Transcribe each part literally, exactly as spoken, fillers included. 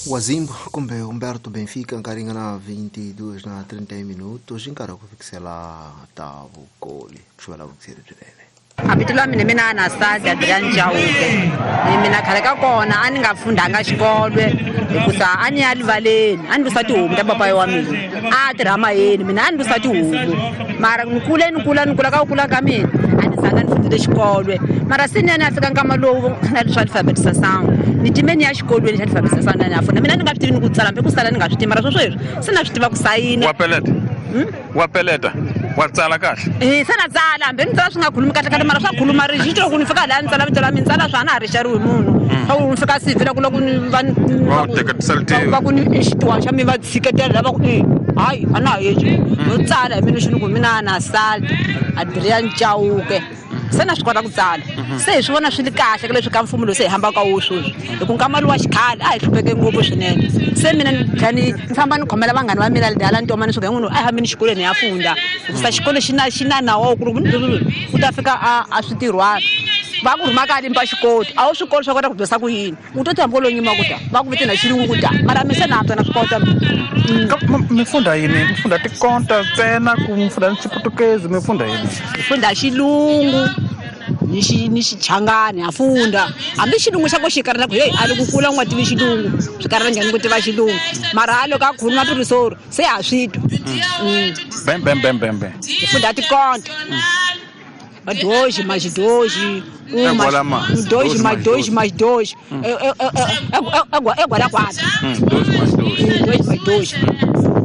Wazimbo kumbe Humberto Benfica nkarhi nga na twenty-two na thirty minutos nkarhi wa ku fikisela ta vukoli ku xuvela vukiseri byinene. Abito la mina mina Anastasia Adrian Chauke. Ni mina khale ka kona a ni nga fundanga xikolo hikusa a ni ya livaleni a ni lusa tihomu ta papayi wa mina a tirha mayeni mina a ni lusa tihomu mara ni kule ni kula ni kula ka ku kula ka mina a ni zanga ni fundile xikolo mara se ni ya ni ya fika nkama lowu na leswa alfabetization ni time ni ya xikolweni xa alfabetization na ni ya funda mina ni nga swi tivi ni ku tsala hambi ku sala ni nga swi tivi mara swo sweswi se na swi tiva ku sayina. Wa peleta wa peleta wa tsala kahle eh se na tsala hambi ni tsala swi nga khulumi kahle kahle mara swa khuluma ri xi ku ni fika laha ni tsala vito la mina tsala swa na ha ri xariwi munhu a wu ni fika sivi la ku loko ni va va ku ni xitiwa xa mi va tshiketela lava ku eh hayi a na ha yeci no tsala hi mina xi ni ku mina Anastasia Adrian Chauke se na swi kota ku tsala se hi swi vona swi ri kahle ka leswi ka mfumo lowu se hi hambaka wo sweswi hi ku nkama lowa xikhale a hi hlupheke ngopfu swinene se mina ni tlhela ni ni famba ni khomela vanghana va mina hala ntomani swi n'wini a hi hambeni xikolweni hi ya funda hikusa xikolo xi na xi na nawu wa ku u ta fika a a switirhwana va ku rhuma ka limpa xikoti a wu swi koti swa kota ku dyondzisa ku yini u to tihamba lo nyima ku ta va ku vitana xilungu ku ta mara mi se na antswa na swi kota. Mi funda yini? Mi funda tikonta ntsena ku mi funda ni xiputukezi mi funda yini? Mi funda xilungu ni xi ni xichangani ha funda hambi xilungu xa ko xi karhala ku hey a loko kula u nga tivi xilungu swi karhala njhani ku tiva xilungu mara a loko a khuluma pirisoro se ha swi twa. Bem bem bem bem bem hi funda tikonta dois mais dois, um mais dois mais dois mais dois, é quatro. Dois mais dois. Dois mais dois.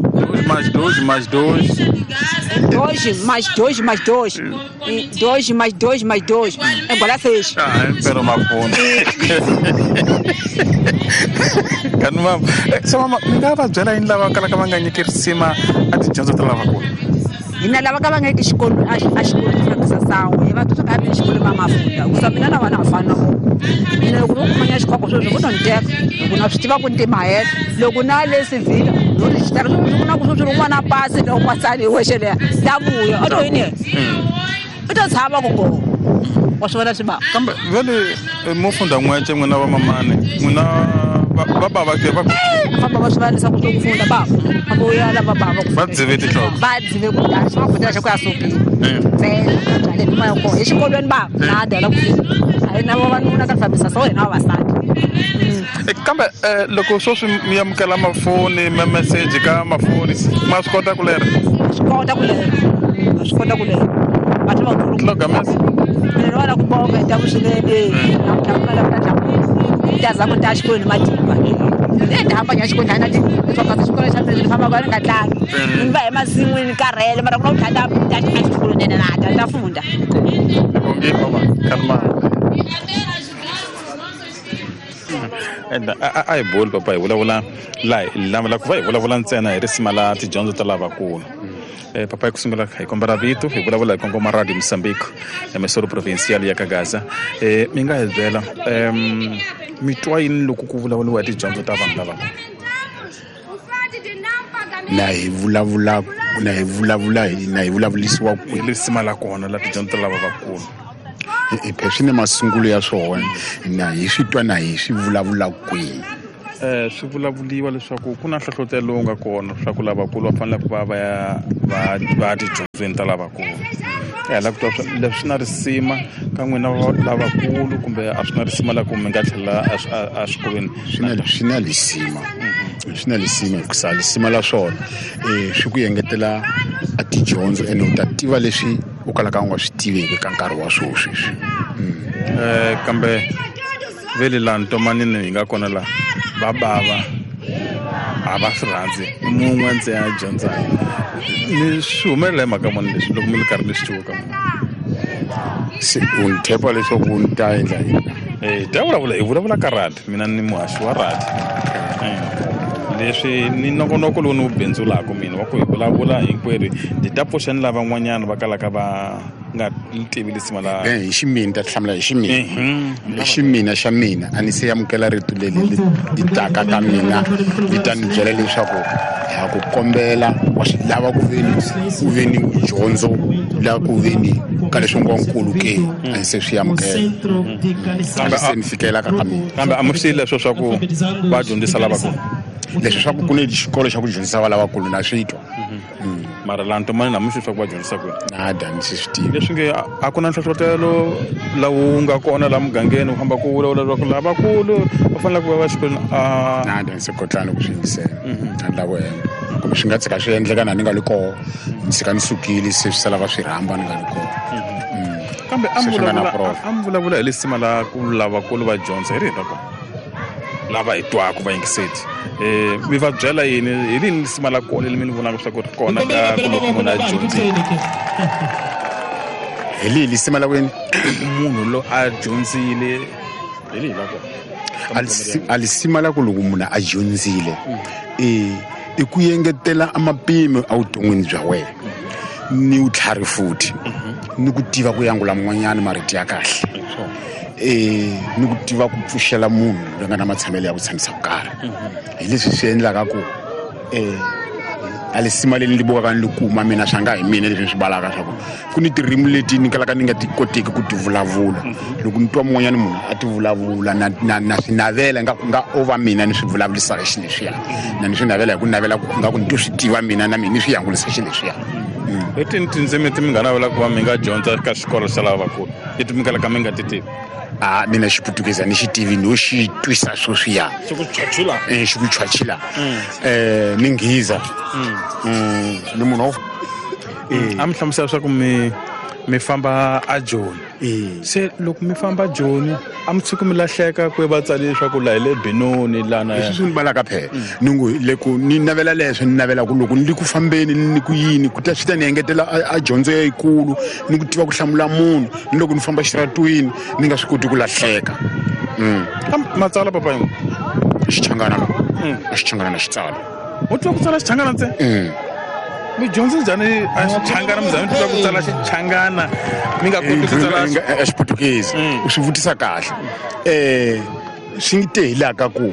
Dois mais dois mais dois. Dois mais dois mais dois. Dois mais dois mais dois. É igual a seis. Ah, espera uma fone. Kanuma, se mama, mi nga va byela yini lava kalaka va nga nyiki risima a tidyondzo ta lavakulu? Hina lava ka va nga yiki xikolo a xikolo xi fambisa sangu hi va twa ka mina xikolo va mafunda hikusa mina na vana a fana na vona mina loko vo kumanya xikhoko sweswi vo to ni teka loko na swi tiva ku ni timahela loko na le sivhila no rejistara sweswi ku na ku sweswi rin'wana pasi loko wa tsali hi wexe leya ta vuya a to yini yena u to tshama ku ngo wa swi vona swi va kambe vele mo funda n'wece n'wina va mamani n'wina va bava ke va famba va swi va leswaku swo ku funda bava va vuya lava bava va dzive tinhloko va dzive ku dya swi va kotela xa ku ya sukile ntsena byale ni moya kona exikolweni bava na dela ku fika a hi na vavanuna ka fambisa so hina vavasati. Kambe loko sweswi mi amukela mafoni ma message ka mafoni ma swi kota ku lera swi kota ku lera swi kota ku lera va tlhela va loga message mina va la ku bonga hi ta vuswinene namuntlha ku na la ku ta za ku ta xikolweni matimba ni ta hamba ya xikolweni na leswaku kasi xikolo xa mina ni famba ka ni nga tlangi ni va emasin'wini karhele mara ku na ku tlhela ta exikolweni na ta ta funda. Bongile mama karma a hi boli papa hi vulavula la la ku va hi vulavula ntsena hi risima la tidyondzo ta lavakulu. Eh, papai ku sungula hi kombela vito hi vulavula hi kongoma Radio Mozambique emissora provincial ya Kagaza. Eh, mi nga hi byela um mi twa yini loko ku vulavuriwa hi tidyondzo ta vanhu lava na hi vulavula na hi vulavula na hi vulavulisiwa ku risima la kona la tidyondzo ta lava vakulu i swi ni masungulo ya swona na hi swi twa na hi swi vulavula kwihi. Eh swi vulavuliwa leswaku ku na nhlohlotelo lowu nga kona leswaku lavakulu va fanele ku va va ya va va tidyondzweni ta lavakulu. Eh la ku twa leswi swi na risima ka n'wina lavakulu kumbe a swi na risima la ku mi nga tlhela a xikolweni? Swi na swi na risima swi na risima hikusa risima la swona eh swi ku engetela a tidyondzo ene u ta tiva leswi u kalaka u nga swi tiveki ka nkarhi wa sweswi. Eh kambe vele la ntomanini hi nga kona la va bava a va swi rhandzi mun'we ntsena a dyondzaka ni swi humelela hi mhaka mani leswi loko mi ri karhi mi swi twa ka munhu se u ni thepa leswaku ni ta endla yini? Eh ta vulavula hi vulavula ka radi mina ni muhaxi wa radi leswi ni nongonoko lowu ni wu bindzulaka mina wa ku hi vulavula hinkwerhu ni ta pfuxa ni lavan'wanyana va kalaka va nga tivi lisima la hi ximina ta hlamula hi ximina hi ximina xa mina a ni se amukela rito leri li taka ka mina li ta ni byela leswaku ha ku kombela wa swi lava ku veni ku veni dyondzo la ku veni Ka leswi ngo nkulu ke a ni se swi amukela kambe se ni fikela ka ka mina kambe a mi swi leswo swa ku va dyondzisa lavakulu leswi swa ku ku ni xikolo xa ku dyondzisa va lavakulu na swi twa mara la ntomani na mi swi swa ku va dyondzisa kwini nada ni swi swi tivi leswi nge a ku na nhlohlotelo lawu nga kona laha mugangeni u famba ku vulavula leswaku lavakulu va fanele ku va va xikolweni a nada ni se kotlana ku swi yingisela a ni lava hemba kumbe swi nga tshika swi endleka na ni nga li koho ni tshika ni sukile se swi sala va swi rhamba ni nga li koho kambe a mi vulavula a mi vulavula hi lisima la ku lavakulu va dyondza hi rihi ra kona lava hi twaka va yingiseti eh mi va byela yini hi rini lisima la kona leri mi ni vonaka swa ku ri kona ka ku loko munhu a dyondzile hi lihi lisima la kwini munhu lo a dyondzile hi lihi la kona a lisima la ku loko munhu a dyondzile eh i ku engetela amapimo evuton'wini bya wena ni vutlhari futhi ni ku tiva ku yangula mun'wanyana marito ya kahle eh ni ku tiva ku pfuxela munhu loyi nga na matshamelo ya ku tshamisa ku karhi hi leswi swi endlaka ku eh a lisima leri ni bukaka ni li kuma mina swa nga hi mina leswi ni swi balaka swa ku ku ni tirimi leti ni kalaka ni nga ti koteki ku ti vulavula loko ni twa mun'wanyana munhu a ti vulavula na na na swi navela nga nga o va mina ni swi vulavurisaka xileswiya na ni swi navela hi ku navela ku nga ku ni to swi tiva mina na mina ni swi yangulisa xileswiya hi tini tindzimi ti mi nga navela ku va mi nga dyondza ka xikolo xa lavakulu leti mi kalaka mi nga ti tivi a mina xiputukeza ni xi tivi no xi twisa sweswiya xi ku chachila eh xi ku chachila eh ni nghiza ni munhu a mi hlamusela swa ku mi mi famba a Joni se loko mi famba Joni a mi tshuki mi lahleka ku va tsali leswaku la hi le Benoni lana leswi swi ni balaka phela ni ngo le ku ni navela leswo ni navela ku loko ni li ku fambeni ni ku yini ku ta swi ta ni engetela a dyondzo yikulu ni ku tiva ku hlamula munhu ni loko ni famba xiratwini ni nga swi koti ku lahleka matsala papa yin'we xichangana xichangana na xitsala u tiva ku tsala xichangana ntsena mi dyondze njhani a xichangana mi za mi tiva ku tsala xichangana mi nga koti ku tsala a xiputukezi u swi vutisa kahle eh swi ngi te hi laha ka ku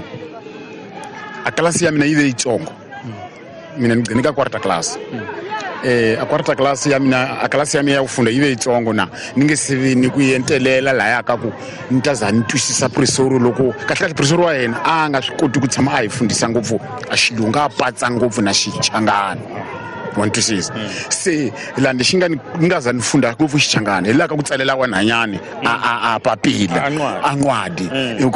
a klasi ya mina yi ve yitsongo mina ni gcine ka quarter class eh a quarter class ya mina a klasi ya mina ya ku funda yi ve yitsongo na ni nge se vi ni ku entelela laya ka ku ni ta za ni twisisa professor loko kahle kahle professor wa yena a nga swi koti ku tshama a hi fundisa ngopfu a xilungu a patsa ngopfu na xichangana wa twisisa se laha lexi nga ni nga za ni funda ngopfu xichangana hi laha ka ku tsalela wanhanyani a a a papila a ncwadi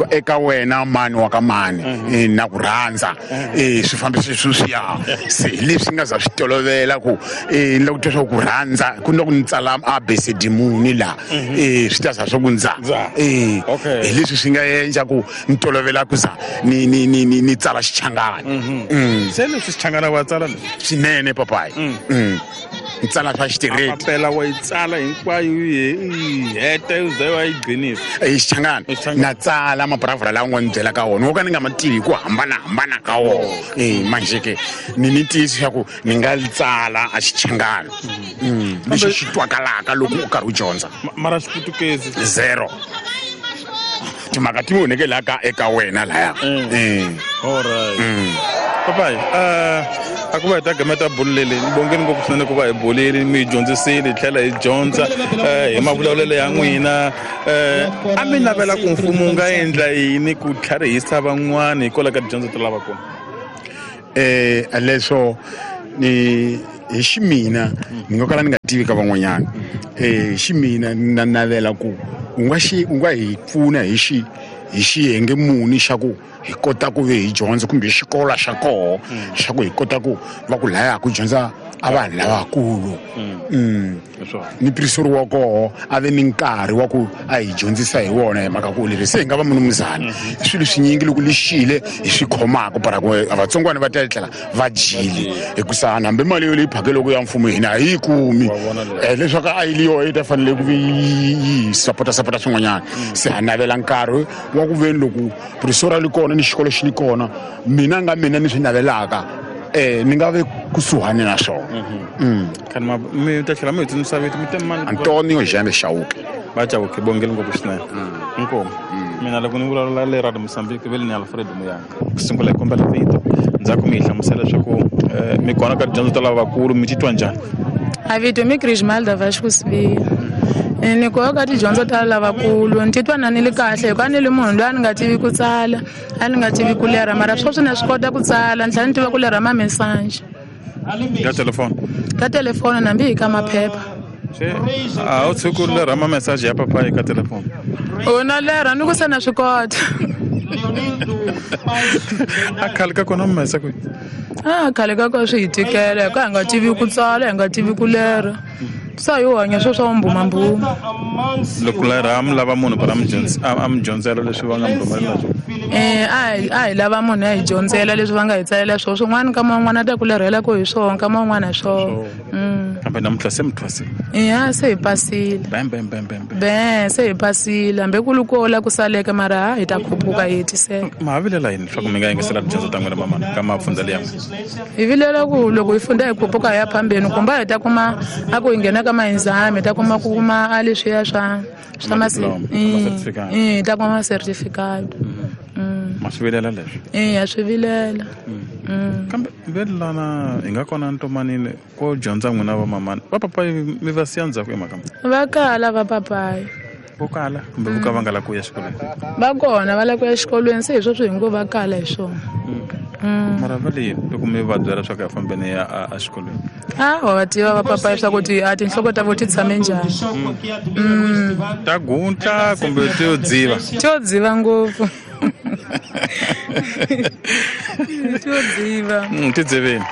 eka wena mani wa ka mani na ku rhandza eh swi fambisa sweswiya se hi leswi nga za swi tolovela ku eh ni lava ku twa swa ku rhandza ku na ku ni tsala a b c d muni laha eh swi ta za swa ku ndza eh hi leswi swi nga endla ku ni tolovela ku za ni ni ni ni tsala xichangana se leswi xichangana wa tsala leswi swinene papayi ni tsala swa xitireti papela wa yi tsala hinkwayo yi heta yi ze wa yi gcinisa i xichangana na tsala maburavura lawa nga ni byela ka wona wo ka ni nga ma tivi hi ku hambanahambana ka wona e manjhe ke ni ni tiyisi swa ku ni nga tsala a xichangana lexi xi twakalaka loko u karhi u dyondza mara xiputukezi zero timhaka ti voneke laha ka eka wena laya alright papayi a ku va hi ta gameta bulu leri ni bongeni ngopfu swinene ku va hi bulile mi hi dyondzisile hi tlhela hi dyondza hi mavulavulelo ya n'wina a mi navela ku mfumo wu nga endla yini ku tlharihisa van'wani hikwalaho ka tidyondzo ta lavakulu eh leswo ni hi ximina ni nga kala ni nga tivi ka van'wanyana eh ximina na navela ku u nga xi u nga hi pfuna hi xi hi xiyenge muni xa ku hi kota ku ve hi dyondza kumbe xikolo xa koho xa ku hi kota ku va ku laya ku dyondza a vanhu lavakulu ni professor wa koho a ve ni nkarhi wa ku a hi dyondzisa hi wona hi mhaka ku leswi se hi nga va munumuzana swilo swinyingi loko lexile hi swi khomaka para ku vatsongwana va ta etlela va dyile hikusa hambi mali yo leyi phakeleke ya mfumo hina a yi kumi leswaku a yi li yoho yi ta fanele ku yi sapota sapota swin'wanyana se ha navela nkarhi wa ku veni loko professor a li kona ni xikolo xi li kona mina nga mina ni swi navelaka eh ni nga ve kusuhani na swona mm mi ta tlhela mi hi tsundzuxa vito mi te mani Antonio Jaime Chauke va Chauke bongeni ngopfu swinene inkomu mina loko ni vulavula le Radio Mozambique ve le ni Alfred Muyanga ku sungula hi kombela vito ndzhaku mi hi hlamusela leswaku mi kona ka tidyondzo ta lavakulu mi titwa njhani A vito mi Crismalda Vasco Sibiya. Ni ku ka tidyondzo ta lavakulu ni titwa na ni li kahle hikuva ni li munhu loyi a ni nga tivi ku tsala, a ni nga tivi ku lerha, mara sweswi na swi kota ku tsala, ni tlhela ni tiva ku lerha mamesaji. Ka telefoni? Ka telefoni hambi hi ka maphepha. Se a wu tshiki ku lerha mamesaji ya papayi ka telefoni? O na lerha ni ku se na swi kota. A khale ka kona mi kwihi? A khale ka kona swi hi tikela hikuva hi nga tivi ku tsala, hi nga tivi ku lerha. Sa yo hanya swo swa mbumbambuma. Loko lerha mi lava munhu para mi a mi dyondzela leswi va nga mi rhumelela swona? Eh, a hi a hi lava munhu a hi dyondzela leswi va nga hi tsalela swona. Swin'wana nkama wun'wana a ta ku lerhela ku hi swona, nkama wun'wana hi swona. Kambe namuntlha se mi thwasile? Eya, se hi pasile. Bam bam bam bam. Be, se hi pasile. Hambi ku ri ko la ku saleke mara hi ta khuphuka hi hetiseka. Ma ha vilela yini leswaku mi nga yingisela tidyondzo ta n'wina mamana ka mafundza liya? Hi vilela ku loko hi funda hi khuphuka hi ya phambeni kumbe hi ta kuma a ku hi nghena ka ma-exam hi ta kuma ku kuma a leswiya swa swa ma eh ta kuma certificate. Ma swi vilela leswi? Eh, ya swi vilela. Kambe velana hi nga kona ntomanini ko dyondza n'wina va mamana va papayi mi va siya ndzhaku emhaka va kala va papayi vo kala kumbe vo ka va nga la ku ya xikolweni? Va kona va la ku ya xikolweni, se hi swo swi hi ngo va kala hi swona. Mara va le loko mi va byela swa ku ya fambeni ya a xikolweni? A wa va tiva va papayi swa ku ti a tinhloko ta vo ti tshame njhani. Ta guntla kumbe ti yo dziva? Ti yo dziva ngopfu. Ti yo dziva. Ti dzivini.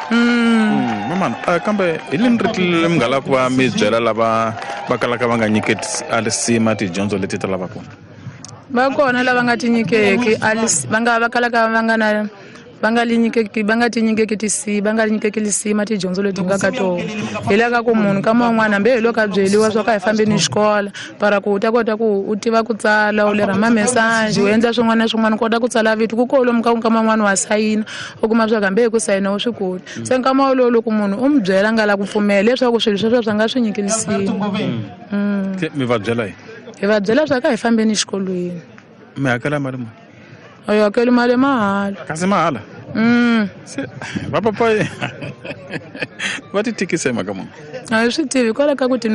Mamana, kambe hi lini rito leri mi nga lava ku va mi byela lava va kalaka va nga nyiketi a lisima tidyondzo leti ta lavakulu? Va kona lava nga ti nyikeki va nga va kalaka va nga na va nga li nyikeki va nga ti nyikeki tisi va nga li nyikeki lisima tidyondzo leti nga ka tona. Hi la ka ku munhu kama un'wana hambi hi loko a byeliwa swa ka hi fambeni xikola para ku u ta kota ku u tiva ku tsala, u lerha mamesaji, u endla swin'wana na swin'wana, u kota ku tsala vito ku kolomu ka nkama un'wana wa sayina u kuma swa ku hambi hi ku sayina u swi koti. Se nkama wolowo loko munhu u mi byela nga la ku pfumela leswaku swilo sweswo swa nga swi nyiki lisima. Mi va byela yini? Hi va byela swa ka hi fambeni xikolweni. Mi hakela mali muni? A yi hakeli mali mahala. Kasi mahala? Mm. Se va papayi va ti tikisa hi mhaka muni? A hi swi tivi hikwalaho ka ku ti